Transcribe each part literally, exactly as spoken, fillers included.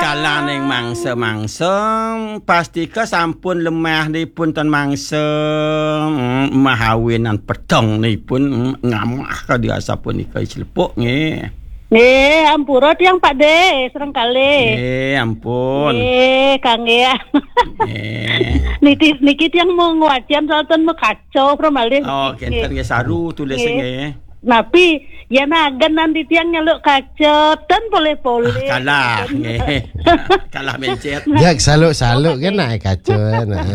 Alaning mangsa-mangsa, pastika sampun lemah nipun tan mangsa, mm, mahawinan peteng nipun, mm, ngamah kadi asapunika selepuk nggih. Nggih, ampura tiang Pak De, sareng kalih. Nggih, ampun. Nggih, kangge. Nggih. Niki, niki tiang mau ngwacian soal ten mekaco, pramalih. Oh, nggih. Kenten nggih saru tulis nggih. Nggih. Napi, yen agenan titiang nyeluk kaca, ten polih-polih. Ah, kalah, nggih. Kalah mencet. Jak saluk-saluk kan nak kaca, nah,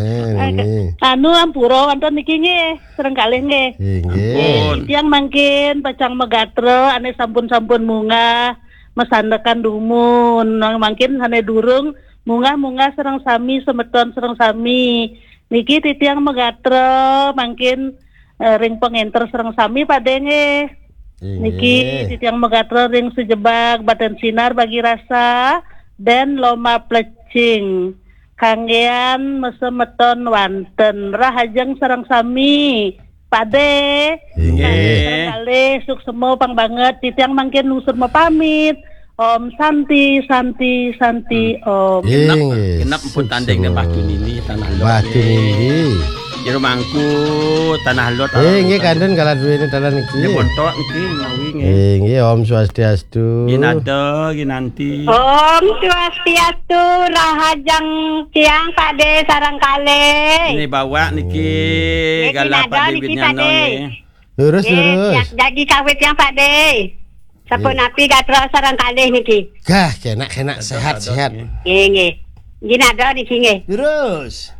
ini. Anu, ampura wonten niki nggih, sareng kalih nggih. Inggih. Ampun. Titiang mangkin pacang magatra, ane sampun-sampun munggah, masandekan dumun. Nang mangkin sane durung munggah-munggah sareng sami, semeton sareng sami. Niki titiang magatra, mangkin eh, ring pengenter sareng sami Pak De nggih. Inggih. Niki titiang magatra ring sejebag Badan Sinar Bagi Rasa dan Loma Plecing. Kanggean masemeton wanten rahajeng sareng sami Pak De. Inggih. Sareng kalih suksema pang banget titiang mangkin lungsur mapamit. Om Santi, Santi, Santi, Om. Genep, inggih, genep pun tanding suksema. Batu Nili, Tanah Lot. Batu Nili. Jero Mangku, Tanah Lot. Eh, nggih, kantun kala duwene dalan niki. Nggih, montok niki, menawi nggih. Eh, nggih, Om Swastiastu. Ginada, ginanti. Om Swastiastu, rahajeng tiang Pak De sareng kalih. Ini bawa niki, nggih, galah ginada Pak De niki, Pak Widnyana De. Nggih. Lurus, nggih, lurus. Tiang jagi kawit tiang Pak De. Sapunapi gatra sareng kalih niki. Gah, kenak, kenak, sehat, sehat. Nggih, nggih. Ginada niki nggih. Lurus.